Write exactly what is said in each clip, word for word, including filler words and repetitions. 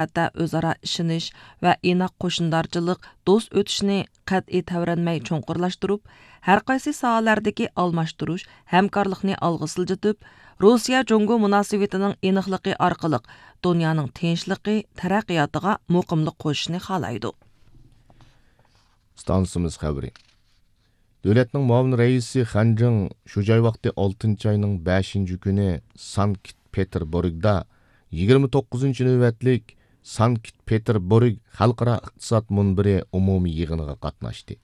سەنئەتتە ئۆزئارا ئىشىنىش ۋە ئىناق قوشنىدارچىلىق، دوست ئۆتۈشنى قەتئىي تەۋرەنمەي چوڭقۇرلاشتۇرۇپ، ھەر قايسى ساھەلەردىكى ئالماشتۇرۇش، ھەمكارلىقنى ئالغا سىلجىتىپ، روسىيە جۇڭگو مۇناسىۋىتىنىڭ ئېنىقلىقى ئارقىلىق دۇنيانىڭ تىنچلىقى، تەرەققىياتىغا مۇقىملىق قوشۇشنى خالايدۇ. ئىستانسىمىز خەۋىرى. دۆلەتنىڭ مۇئاۋىن رەئىسى خەنجىڭ شۇ جاي ۋاقتى ئالتىنچى ئاينىڭ بەشىنچى كۈنى سانكت پېتېربۇرگدا يىگىرمە توققۇزىنچى نۆۋەتلىك سانكت پېتېربۇرگ خەلقئارا ئىقتىساد مۇنبىرى ئومۇمىي يىغىنىغا قاتناشتى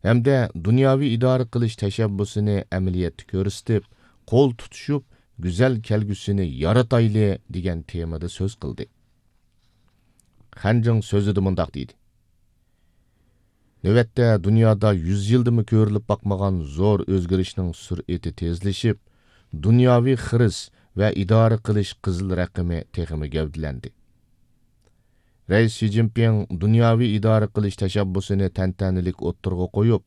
ھەمدە دۇنياۋى ئىدارە قىلىش تەشەببۇسىنى ئەمەلىيەتتە كۆرسىتىپ، قول تۇتۇشۇپ، گۈزەل كەلگۈسىنى يارىتايلى دېگەن تېمىدا سۆز قىلدى. خەنجىڭ سۆزىدە مۇنداق دېدى: نۆۋەتتە دۇنيادا يۈز يىلدىمۇ كۆرۈلۈپ باقمىغان زور ئۆزگىرىشنىڭ سۈرئىتى تېزلىشىپ، دۇنياۋى خىرىس ۋە ئىدارە قىلىش قىزىل رەقىمى تېخىمۇ گەۋدىلەندى. رەئىس شى جىنپىڭ دۇنياۋى ئىدارە قىلىش تەشەببۇسىنى تەنتەنىلىك ئوتتۇرىغا قويۇپ،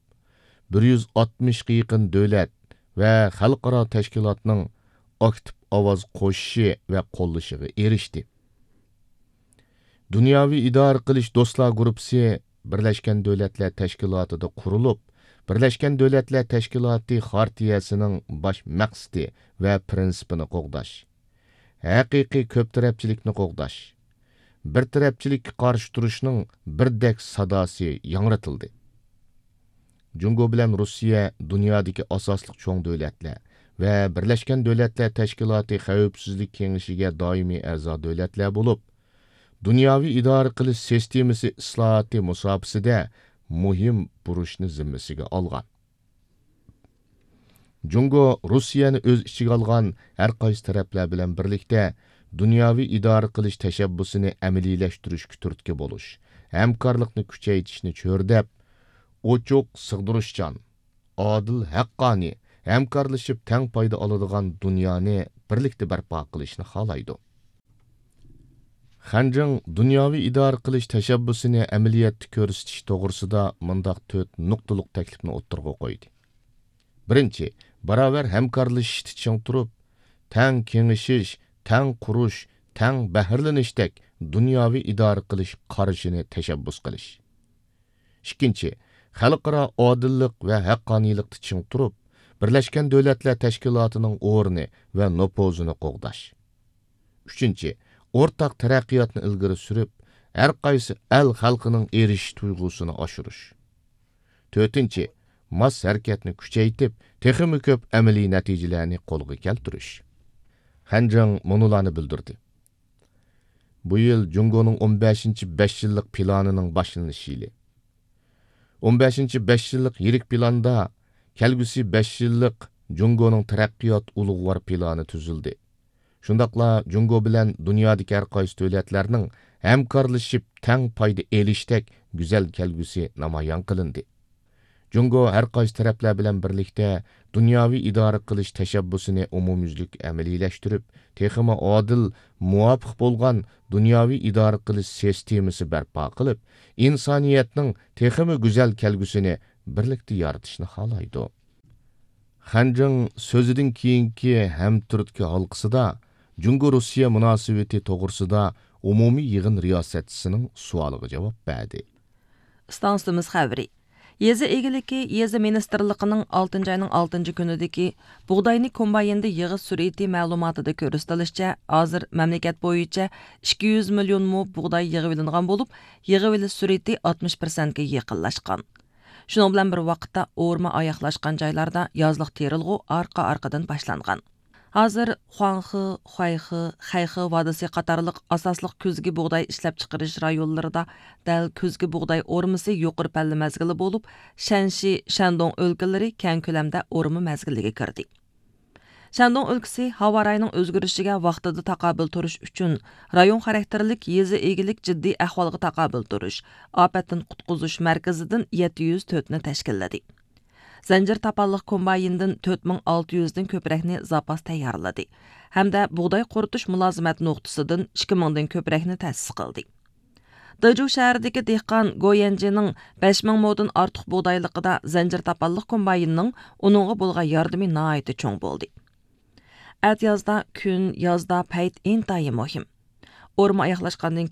بىر يۈز ئاتمىشقا يېقىن دۆلەت ۋە خەلقئارا تەشكىلاتنىڭ ئاكتىپ ئاۋاز قوشۇشى ۋە قوللىشىغا ئېرىشتى. دۇنياۋى ئىدارە قىلىش دوستلار گۇرۇپپىسى بىرلەشكەن دۆلەتلەر تەشكىلاتىدا قۇرۇلۇپ، بىرلەشكەن دۆلەتلەر تەشكىلاتى خارتىيەسىنىڭ باش مەقسىتى ۋە پىرىنسىپىنى قوغداش، ھەقىقىي كۆپ تەرەپچىلىكنى قوغداش، بىر تەرەپچىلىككە قارشى تۇرۇشنىڭ بىردەك ساداسى ياڭرىتىلدى. جۇڭگو بىلەن روسىيە دۇنيادىكى ئاساسلىق چوڭ دۆلەتلەر ۋە بىرلەشكەن دۆلەتلەر تەشكىلاتى خەۋپسىزلىك كېڭىشىگە دائىمىي ئەزا دۆلەتلەر بولۇپ، دۇنياۋى ئىدارە قىلىش سىستېمىسى ئىسلاھاتى مۇساپىسىدە مۇھىم بۇرچنى زىممىسىگە ئالغان. جۇڭگو روسىيەنى ئۆز ئىچىگە ئالغان ھەر قايسى تەرەپلەر بىلەن بىرلىكتە دۇنياۋى ئىدارە قىلىش تەشەببۇسىنى ئەمەلىيلەشتۈرۈشكە تۈرتكە بولۇش، ھەمكارلىقنى كۈچەيتىشنى چۆرىدەپ، ئوچۇق، سىغدۇرۇشچان، ئادىل، ھەققانىي، ھەمكارلىشىپ تەڭ پايدا ئالىدىغان دۇنيانى بىرلىكتە بەرپا قىلىشنى خالايدۇ. خەنجىڭ دۇنياۋى ئىدارە قىلىش تەشەببۇسىنى ئەمەلىيەتتە كۆرسىتىش توغرىسىدا مۇنداق تۆت نۇقتىلىق تەكلىپنى ئوتتۇرىغا قويدى. بىرىنچى، باراۋەر ھەمكارلىشىشتا چىڭ تۇرۇپ، تەڭ كېڭىشىش، تەڭ قۇرۇش، تەڭ بەھرىلىنىشتەك دۇنياۋى ئىدارە قىلىش قارىشىنى تەشەببۇس قىلىش. ئىككىنچى، خەلقئارا ئادىللىق ۋە ھەققانىيلىقتا چىڭ تۇرۇپ، بىرلەشكەن دۆلەتلەر تەشكىلاتىنىڭ ئورنى ۋە نوپۇزىنى قوغداش. ئۈچىنچى، ئورتاق تەرەققىياتنى ئىلگىرى سۈرۈپ، ھەر قايسى ئەل خەلقىنىڭ ئېرىشىش تۇيغۇسىنى ئاشۇرۇش. تۆتىنچى، ماس ھەرىكەتنى كۈچەيتىپ، تېخىمۇ كۆپ ئەمەلىي نەتىجىلەرنى قولغا كەلتۈرۈش. خەنجىڭ مۇنۇلارنى بىلدۈردى. بۇ يىل جۇڭگونىڭ ئون بەشىنچى بەش يىللىق پىلانىنىڭ باشلىنىش يىلى. ئون بەشىنچى بەش يىللىق يىرىك پىلاندا كەلگۈسى بەش يىللىق جۇڭگونىڭ تەرەققىيات ئۇلۇغۋار پىلانى تۈزۈلدى. شۇنداقلا جۇڭگو بىلەن دۇنيادىكى ھەر قايسى دۆلەتلەرنىڭ ھەمكارلىشىپ تەڭ پايدا ئېلىشتەك گۈزەل كەلگۈسى نامايان قىلىندى. جۇڭگو ھەر قايسى تەرەپلەر بىلەن بىرلىكتە دۇنياۋى ئىدارە قىلىش تەشەببۇسىنى ئومۇميۈزلۈك ئەمەلىيلەشتۈرۈپ، تېخىمۇ ئادىل، مۇۋاپىق بولغان دۇنياۋى ئىدارە قىلىش سىستېمىسى بەرپا قىلىپ، ئىنسانىيەتنىڭ تېخىمۇ گۈزەل كەلگۈسىنى بىرلىكتە يارىتىشنى خالايدۇ. خەنجىڭ سۆزىدىن كېيىنكى ھەمتۈرتكە ھالقىسىدا جۇڭگو روسىيە مۇناسىۋىتى توغرىسىدا ئومۇمىي يىغىن رىياسەتچىسىنىڭ سوئالىغا جاۋاب بەردى. ئىستانسىمىز خەۋىرى. يېزا ئىگىلىكى، يېزا مىنىستىرلىقىنىڭ ئالتىنچى ئاينىڭ ئالتىنچى كۈنىدىكى بۇغداينى كومبايىندا يىغىش سۈرئىتى مەلۇماتىدا كۆرسىتىلىشىچە، ھازىر مەملىكەت بويىچە ئىككى يۈز مىليون مو بۇغداي يىغىۋېلىنغان بولۇپ، يىغىۋېلىش سۈرئىتى ئاتمىش پىرسەنتكە يېقىنلاشقان. شۇنىڭ بىلەن بىر ۋاقىتتا، ئورما ئاياغلاشقان جايلاردا يازلىق تېرىلغۇ ئارقا-ئارقىدىن باشلانغان. ھازىر خۇاڭخې، خۇەيخې، خەيخې ۋادىسى قاتارلىق ئاساسلىق كۈزگى بۇغداي ئىشلەپچىقىرىش رايونلىرىدا دەل كۈزگى بۇغداي ئورمىسى يۇقىرى پەللە مەزگىلى بولۇپ، شەنشى، شەندۇڭ ئۆلكىلىرى كەڭ كۆلەمدە ئورما مەزگىلىگە كىردى. شەندۇڭ ئۆلكىسى ھاۋا رايىنىڭ ئۆزگىرىشىگە ۋاقتىدا تاقابىل تۇرۇش ئۈچۈن، رايون خاراكتېرلىك يېزا ئىگىلىك جىددىي ئەھۋالغا تاقابىل تۇرۇش، ئاپەتتىن قۇتقۇزۇش مەركىزىدىن يەتتە يۈز تۆتنى تەشكىللىدى. زەنجىر تاپانلىق كومبايىندىن تۆت مىڭ ئالتە يۈزدىن كۆپرەكنى زاپاس تەييارلىدى ھەمدە بۇغداي قۇرۇتۇش مۇلازىمەت نۇقتىسىدىن ئىككى مىڭدىن كۆپرەكنى تەسىس قىلدى. دېجۇ شەھىرىدىكى دېھقان گو يەنجىنىڭ بەش مىڭ مودىن ئارتۇق بۇغدايلىقىدا زەنجىر تاپانلىق كومباينىنىڭ ئۇنىڭغا بولغان ياردىمى ناھايىتى چوڭ بولدى. ئەتىيازدا كۈن، يازدا پەيت ئىنتايىن مۇھىم. ئورما ئاياغلاشقاندىن